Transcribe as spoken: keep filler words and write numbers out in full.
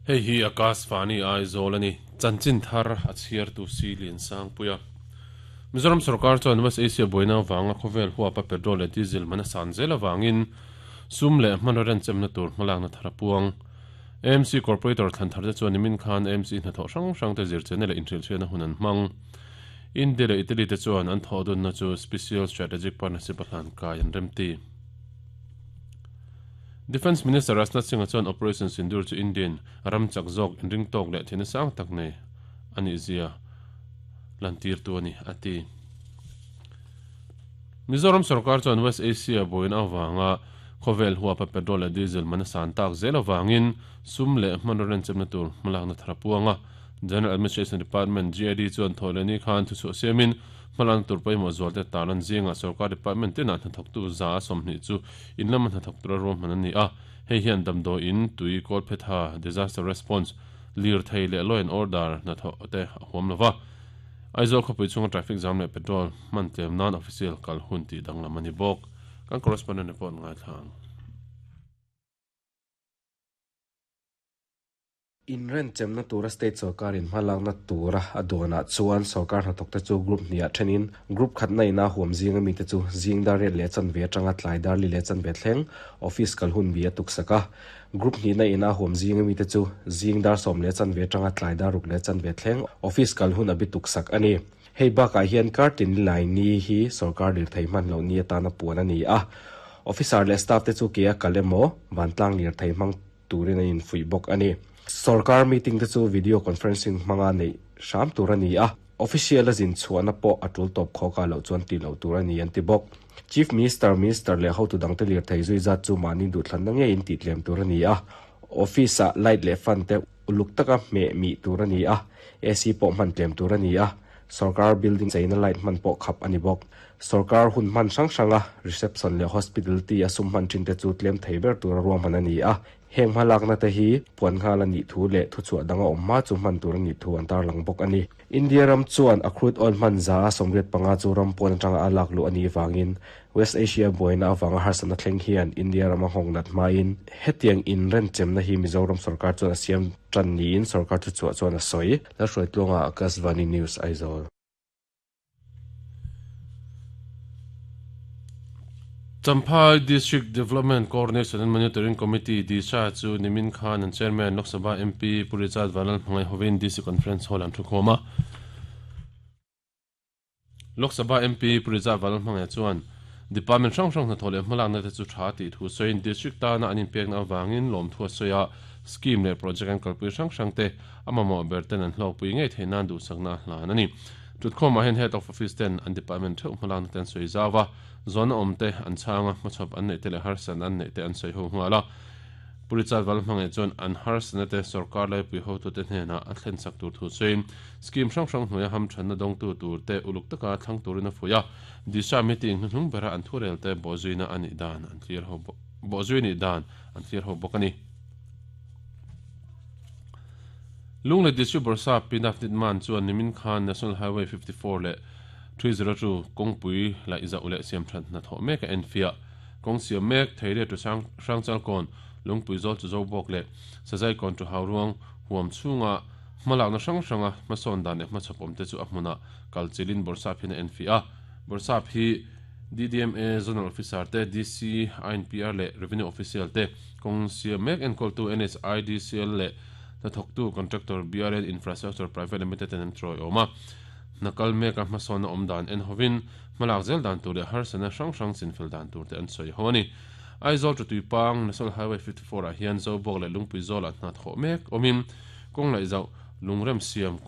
Hei hi Akashvani Aizawl ani chanchin thar a chhiar tu si lian sang puia Mizoram sarkar chuan West Asia buaina wanga khawvel huapa petrol leh diesel mana san zel awangin sum leh hmanraw renchem na tur hmalak na thar a puang A M C Corporator thlan thar te chuan nimin khan A M C hnathawh hrang hrang te zirchena leh inhrilhchhiatna hun an hmang India leh Italy te chuan an thawh dunna chu Special Strategic Partnership a hlan kai an remti Defence Minister Rajnath Singh chuan Operation Sindoor chu Indian ram chak zawk inring tawk leh thina sang tak nei ani zia lantir tu ani ati Mizoram sarkar chuan West Asia buaina awanga khawvel huapa petrol leh diesel mana san tak zel awangin sum leh hmanraw renchem na tur hmalak na thar a puanga General Administration Department G A D chuan thawhleni khan thu chhuah siamin hmalak tur pawimawh zual te talan zinga sarkar department tina hnathawk tu za sawmhnih chu in lama hnathawk tura ruahman ani a hei hian damdawi in tui kawl phetha disaster response lir thei leh law and order hnathawh te a huam lova Aizawl khawpui chunga traffic jam leh petrol hman tlem nan official kal hun tih danglam ani bawk kan correspondent report ngai thlang In renchem na tura state sarkar in hmalak na tura a duana chuan sarkar hnathawk te chu group hniah thenin group khat na ina huam zinga mi te chu zingdar riat leh chan ve atanga tlaidar li leh chan ve thleng office kal hun bi a tuksaka group hnih na ina huam zinga mi te chu zingdar sawm leh chan ve atanga tlaidar ruk leh chan ve thleng office kal hun a bi tuksak ani hei bakah hian kartin lai ni hi sarkar lir thei hman lo ni atana puan ani a officer leh staff te chu ke a kalemo vantlang lir thei hmang turin a in fui bawk ani Sarkar meeting te chu video conferencing hmanga nei hram tur ani a official a zin chhuahna pawh a tul tawp khawka loh chuan ti lo tur ani an ti bawk Chief Minister Minister leh hotu dang te lir thei zui zat chu mahni duhthlan na ngeiin tih tlem tur ani a office ah light leh fan te uluk taka hmeh mi tur ani a A C pawh hman tlem tur ani a sarkar building cheina light hman pawh khap ani bawk sarkar hun hman hrang hranga reception leh hospitality a sum hman thin te chu tlem thei ber tur a ruahman ani a heng hmalak na te hi puan nghal ani thu leh thu chhuah danga awm hma chu hman tur ani thu an tarlang bawk ani India ram chuan a crude oil hman za a sawmriat panga chu ram pawn atanga a lak lu ani wangin West Asia buaina awanga harsana thleng hian India rama nghawng nat hmain hetiang in renchem na hi Mizoram sarkar chuan a siam tan niin sarkar thu chhuah chuan a sawi la hruai tluanga Akashvani News Aizawl Champhai District Development Coordination and Monitoring Committee D S A chu Nimin Khan and Chairman Lok Sabha M P Purichad Vanal Hmangai hovin D C Conference Hall an thukhawma Lok Sabha M P Purichad Vanal Hmangai chuan Department hrang hrang hnathawh leh hmalak na te chu tha tih thu sawiin district tana an inpek na awangin lawm thu a sawi a scheme leh project an kalpui hrang hrang te a mamawh ber ten an hlawkpui ngei theih nan duhsakna a hlan ani Tutkhawmah hian head of office ten an department theuh hmalak na ten sawi zawa zona awm te an chhanga hmachhawp an neih te leh harsan an neih te an sawi ho nghal a Purichad Vanal Hmangai chuan an harsana te sarkar laipui hotu te hnenah a thlen sak tur thu sawiin scheme hrang hrang hnuaia hamthanna dawngtu tur te uluk taka thlang turin a fuih a disha meeting hnuhnung bera an thurel te bawhzuina anih dan an thlir ho bawhzui anih dan an thlir ho bawk ani Lunglei District Borsa Pinaf Nitman chuan Nimin Khan National Highway fifty-four leh three zero two kawngpui laih zauh leh siam that hnathawh mek a enfiah kawng siam mek theiria tu sang hrangchal kawn lungpui zawl chu zo bawk leh sazai kawn tu hauruang huam chhunga hmalakna hrang hranga hmasawn dan leh hmachhawp awm te chu a hmuna kalchilin Borsap hian a enfiah a Borsap hi D D M A Zonal Officer te D C I N P R leh Revenue Official te kawng siam mek enkawltu N H I D C L leh hnathawktu contractor B R N Infrastructure Private Limited ten an trawi awm a hnakal mek a hmasawn a awm dan en hovin hmalak zel dan tur leh harsana hrang hrang chinfel dan tur te an sawi ho ani Aizawl tu tuipang National Highway fifty-four ah hian zo bawk leh lungpui zawl ah hnathawh mek awmin kawng laih zauh lungrem siam